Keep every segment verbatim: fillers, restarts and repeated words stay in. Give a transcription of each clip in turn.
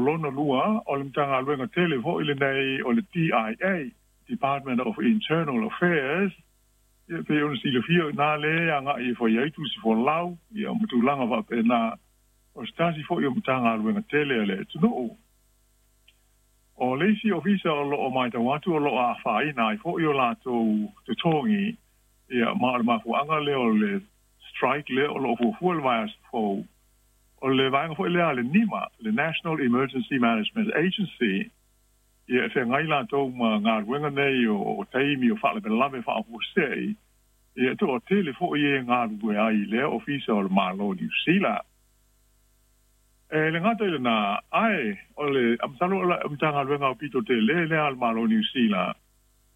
lona lua o le Matagaluega tele fo'i lenei o le D I A, Department of Internal Affairs, ia pei ona silafia i ina lea e aga'i e fai ai tusi folau ia ma tulaga faapena, o se tasi fo'i o Matagaluega tele a le atunuu. O le isi ofisa o lo'o matau atu o lo'o afaina ai fo'i o latou totogi, ia ma o le mafuaaga lea o le strike lea o lo'o fuafua le vaiaso fou, o le vaega fo'i lea a le NEMA, le National Emergency Management Agency, ia e feagai latou ma galuega nei o taimi o faalavelave faafuasei, ia e toatele fo'i e galulue ai i lea ofisa o le Malo o Niu Sila. E le gata i lenā, ae o le masalo o le Matagaluega aupito tele lea a le Malo o Niu Sila,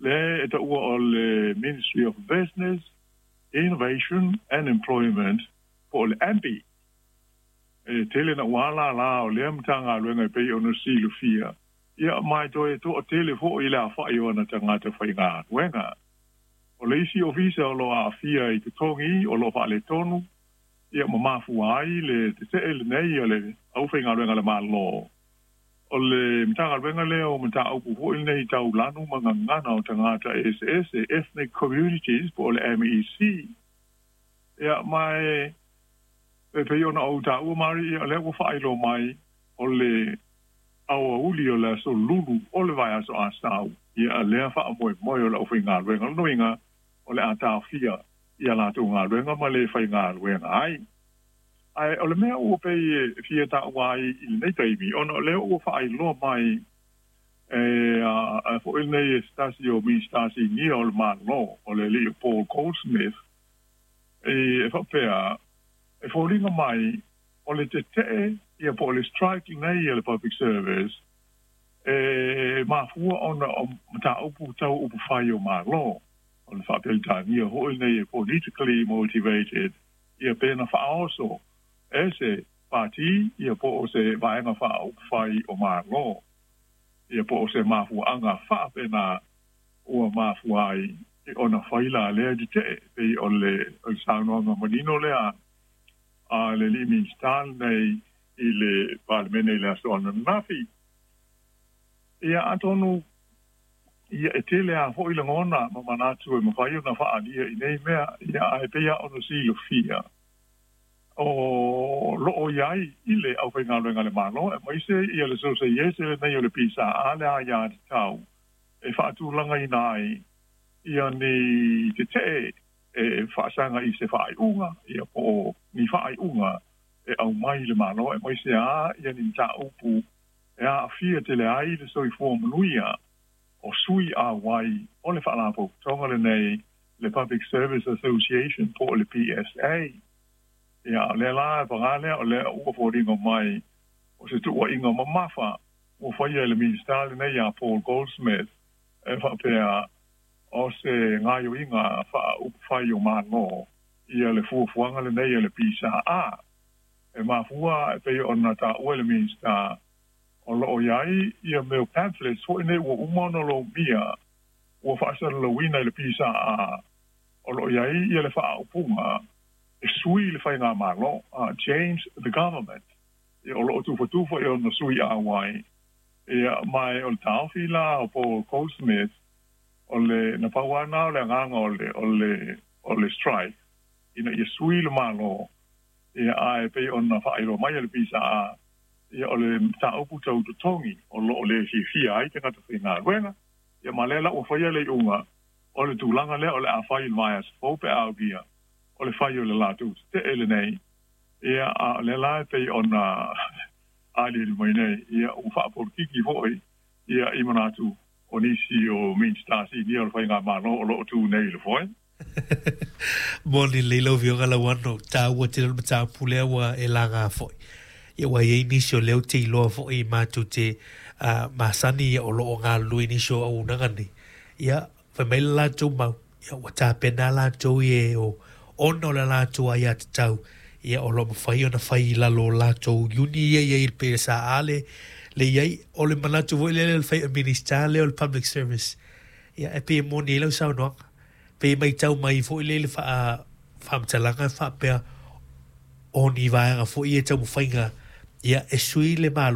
lea e taua o le Ministry of Business, Innovation and Employment po o le M B I. E tele na ua lālā o lea Matagaluega e pei ona silafia, ia ma e toe toatele fo'i le afa'i o ana tagata faigaluega. O le isi ofisa o lo'o aafia i totogi o lo'o faaletonu, ia ma mafua ai le tete'e lenei o le aufaigaluega a le Malo, o le Matagaluega lea o mataupu fo'i lenei tau lanu ma gagana o tagata eseese, ethnic communities po o le M E C. Ia ma e e pei ona ou taua Mari, ia o lea ua faailoa mai o le aoauli o le aso Lulu o le vaiaso Asau, ia lea faamoemoe o le aufaigaluega. O lona uiga o le a taofia ia latou galuega ma le faigaluega ai. Ae o le mea ua pei e fia taua ai i lenei taimi, ona o lea ua faailoa mai e a fo'i lenei e se tasi o Minisita Sinia o le Malo, o le alii o Paul Goldsmith, e faapea e foliga mai o le tete'e ia po o le strike lenei a le Public Service e mafua ona o mataupu tau upufai o Malo, o le faapeletania fo'i lenei e politically motivated, ia pe na faaoso e se pati ia po o se vaega faaupufai o Malo, ia po o se mafuaaga faapena ua mafua ai ona fai la lea tete'e, pei o le o le saunoaga manino lea a le alii Minisita lenei i le Palemene i le aso ananafi. Ia atonu ia e tele a fo'i lagona ma manatu e mafai ona faaalia i nei mea, ia ae pei a ona silafia o lo'o iai i le aufaigaluega a le Malo, aemaise ia le Sosaiese lenei o le P S A le aiā tatau e faatulagaina ai ia ni tete'e e faasaga i se faaiuga, ia po o ni faaiuga e aumai i le Malo, aemaise a ia ni mataupu e aafia tele ai le soifua manuia o sui auai o le Faalapotopotoga lenei, le Public Service Association po o le P S A. Ia o lea la e paga lea o lea ua foliga mai o se tuuaiga mamafa ua faia e le Minisita lenei ia Paul Goldsmith, e faapea o se gaoioiga faaupufai o Malo ia le fuafuaga lenei a le P S A. E mafua e pei ona taua e le Minisita o lo'o iai ia mea o pamphlets fo'i nei ua uma ona lomia ua faasalalauina i le P S A, o lo'o iai ia le faaupuga e sui le faigamalo, uh, change the government, ia o lo'o tufatufa i ona sui auai. Ia ma o le taofi la o Paul Goldsmith, o le na pau lava o le agaga o le o le o le strike ina ia sui le Malo, ia ae pei ona faailoa mai e le P S A, ia o le mataupu tau totogi o lo'o le fiafia ai tagata faigaluega. Ia ma lea la ua faia le iuga o le tulaga lea o le a fai i le vaiaso fou pe a aulia o le fai o le latou tete'e lenei. Ia a o lea la e pei ona aliali mai nei, ia ua faapolokiki fo'i ia i manatu o nisi o Minisita Sinia o le faigamalo o lo'o tu nei i le foe. Moni lelei lau afioga Lauano, taua tele o le mataupu lea ua e laga fo'i. Ia ua iai nisi o lea ou te iloa fo'i matou te uh, masani ia o lo'o galulue nisi o auaunaga nei. Ia fai mai le latou mau, ia ua tapena latou i e o ona o le latou aiatatau, ia o lo'o mafai ona fai i lalo o latou iuni ia iai i le P S A A le le iai o le manatu fo'i lea le fai Minista lea o le Public Service. Ia e pei e moni ai lau saunoaga, pei e matau mai fo'i lea i le faa faamatalaga e faapea o ni vaega fo'i e taumafaiga ia e sui le Malo.